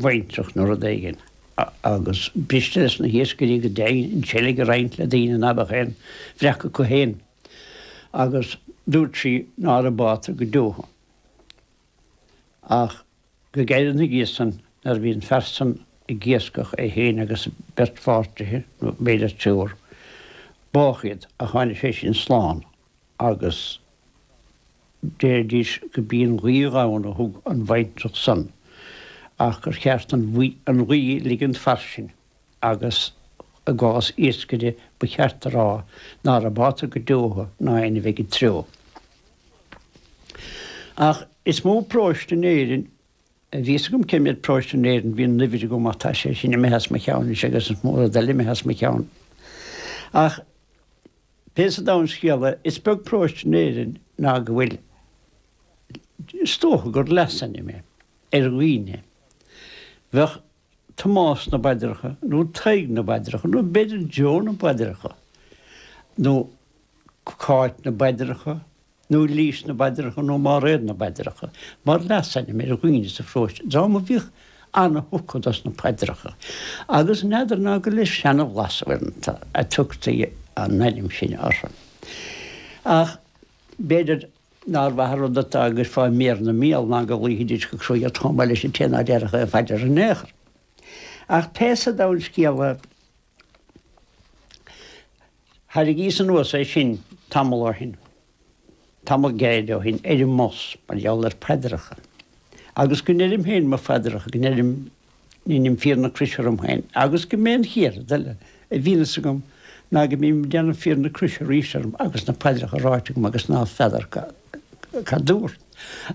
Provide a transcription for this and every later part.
bhaintreach nó rud éigin agus b'fhriste leis na hiascairí go deimhin an tseilg a roinnt le daoine ná beadh aon bhreac acu féin agus dúirt sí ná raibh bátar go deo ach go gairid ina dhiaidh san nuair a bhí an fear san ag iascach é féin agus beirt pháirtithe nó b'fhéidir triúr bádh iad ach tháinig sé sin slán agus Deiridís go b'í an ghaoth dhomhain a thug an bhaintreach san ach gur cheart an ghaoth ligint fairsing agus i gcás iascaire ba cheart a rá ná raibh bátar go deo ná aon a bheidh i dtreo. Ach is mó paróiste in Éirinn a bhí fhios agam cé mhéad paróiste in Éirinn bhí an uimhir agam ach tá sé sin imithe as mo cheann anois agus is mó rud eile imithe as mo cheann. Ach Pé sa domhan scéal é, is beag paróiste in Éirinn ná go bhfuil, is dócha gur leasainm é, ar dhaoine. Bheadh Tomás na bPaidreacha nó Tadhg na bPaidreacha nó b'fhéidir Joe na bPaidreacha nó Cáit na bPaidreacha nó Lís na bPaidreacha nó Máiréad na bPaidreacha, mar leasainm ar dhaoine sa pharóiste, dream a bhíodh ana-thugtha dos na paidreacha, agus n'fheadar ná gur le seanabhlas uaireanta a tugtaí an ainm sin orthu. Ach b'fhéidir nár mhaith an rud atá go gcuirfeá méar 'na mbéal ná go ghlaofaidís go cruaidh ort chomh maith leis an té ná déarfadh aon phaidir in aon chor. Ach pé sa domhan scéal é, Thairrigíos anuas é sin tamall ó shin, tamall gairid ó shin, ar an mbus, mar gheall ar phaidreacha. Agus go ndeirim féin mo phaidreacha, go ndeirim, ndeinim fíor na croise orm féin, agus go mb'é an chéad rud eile a bhíonn fhios agam ná go mbím ag déanamh fíor na croise arís orm agus na paidreacha ráite agam agus ná feadar cad dúrt.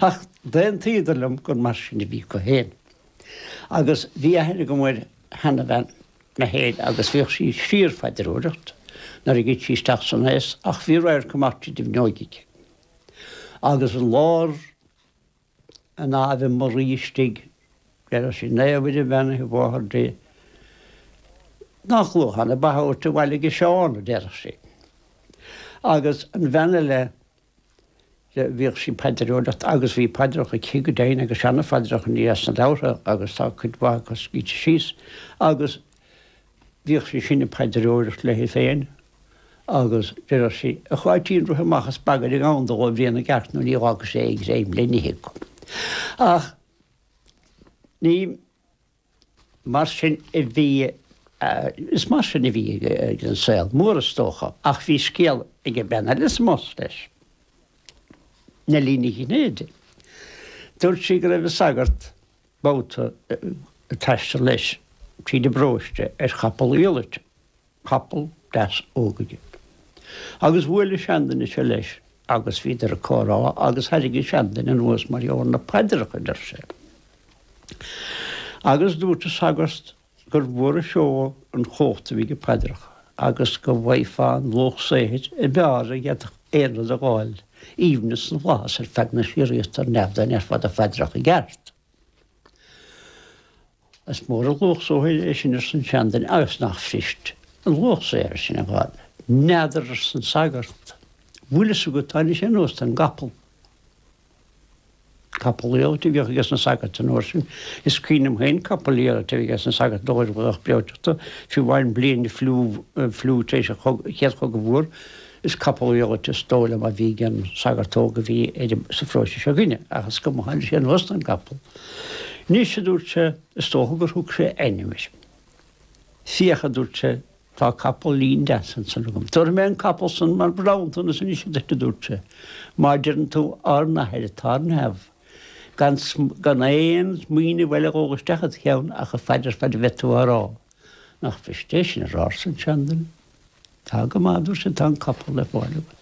Ach d'aontaíodar liom gur mar sin a bhí acu féin. Agus bhí aithne agam ar sheanabhean mé féin agus bhíodh sí síor-phaidreoireacht nuair a ghoid sí isteach san aos ach bhí radharc amach tríd an bhfuinneoig aici. Agus i lár an Ave Maria istigh, deireadh sí, Naomh Muire Bheannaithe Mháthair Dé, nach luachán ab ea a thabhairt abhaile ag Seán, a deireadh sí. Agus an bhean eile, Bhíodh sí ag paidreoireacht agus bhí paidreacha aici go deimhin agus seana-phaidreacha, ní as na leabhartha agus tá cuid mhaith acu scríte síos agus bhíodh sí sin ag paidreoireacht léi féin agus deireadh sí, A Cháitín rith amach is bagair an gabhann dó a bhrian i gceart nó ní dh'fhágfaidh sé aon ghreim le n-ithe acu. Ach ní. Mar sin a bhí, is mar sin a bhí ag an saol mór is dócha, ach bhí scéal ag an bean eile sa mbus leis, Neilí Ní Chinnéide. Dúirt sí go raibh an sagart babhta ag taisteal leis tríd an bparóiste ar chapall iallait. Capall deas óg aige. Agus bhuail an seanduine seo leis agus bhíodar ag comhrá agus thairrig an seanduine anuas mar gheall ar na paidreacha, a deir sé. Agus dúirt an sagart gur mhór an seó an chumhacht a bhí ag paidreacha agus go bhfaighfeá an luach saothair a b'fhearr a d'fhéadfadh aon rud a dh'fháil, aoibhneas na bhflaitheas ar feadh na síoraíochta ar neamh dá ndéarfá do phaidreacha i gceart. Is mór an luach saothair é sin arsa an seanduine agus nach fuirist an luach saothair sin a dh'fháil. N'fheadar arsa an sagart. Bhfuil fhios agat tháinig sé anuas den gcapall. Capall iallait a bhíodh ages na sagairt an uair sin. Is cuimhin liom féin capall iallait a bhí ages na sagairt nuair a bhíodh breoiteachta, fiú amháin bliain an fliú, fliú tar éis an chéad chogadh mhór. Is capall iallait is dóigh liom a bhí ag an sagart óg a bhí ar sa pharóiste seo againne, ach is cuma, tháinig sé anuas den gcapall. Anois, a dúirt sé, is dócha gur thug sé ainm air. Féach, a dúirt sé, tá capall lín deas ansan agam. Tabharfaidh mé an capall san mar bhronntanas anois duit, a dúirt sé, má deireann tú Ár nAthair atá ar neamh, gan gan aon smaoineamh eile a dhul isteach id cheann ach an phaidir fad a bheidh tú á rá. Nach fuirist é sin a rá, arsa an seanduine. Tá go maith, a dúirt sé, tá an capall le fáil agat.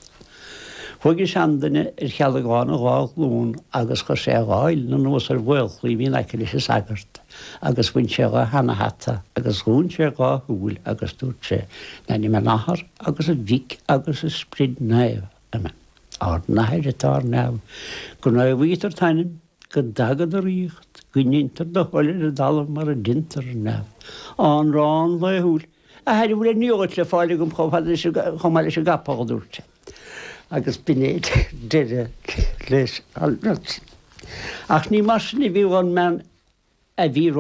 Chuaigh an seanduine ar chealgán a dhá ghlún agus chuir sé a dhá uillinn anuas ar mhaolchlaí a bhí in aice leis an sagart agus bhain sé dha sheana-hata agus dhún sé a dhá shúil agus dúirt sé, In ainm an Athar agus an Mhic agus an Sprid Naomh. Amen. Ár nAthair atá ar neamh, go naomhaítear t'ainm, go dtaga do ríocht, go ndeintear do thoil ar an dtalamh mar a deintear ar neamh. Ár n-arán laethúil. A athair, an bhfuil aon iallait le fáil agam chomh fada leis an, chomh maith leis an gcapall, a dúirt sé. Agus b'in é deireadh leis an rud. Ach ní mar sin a bhí an mbean a bhí.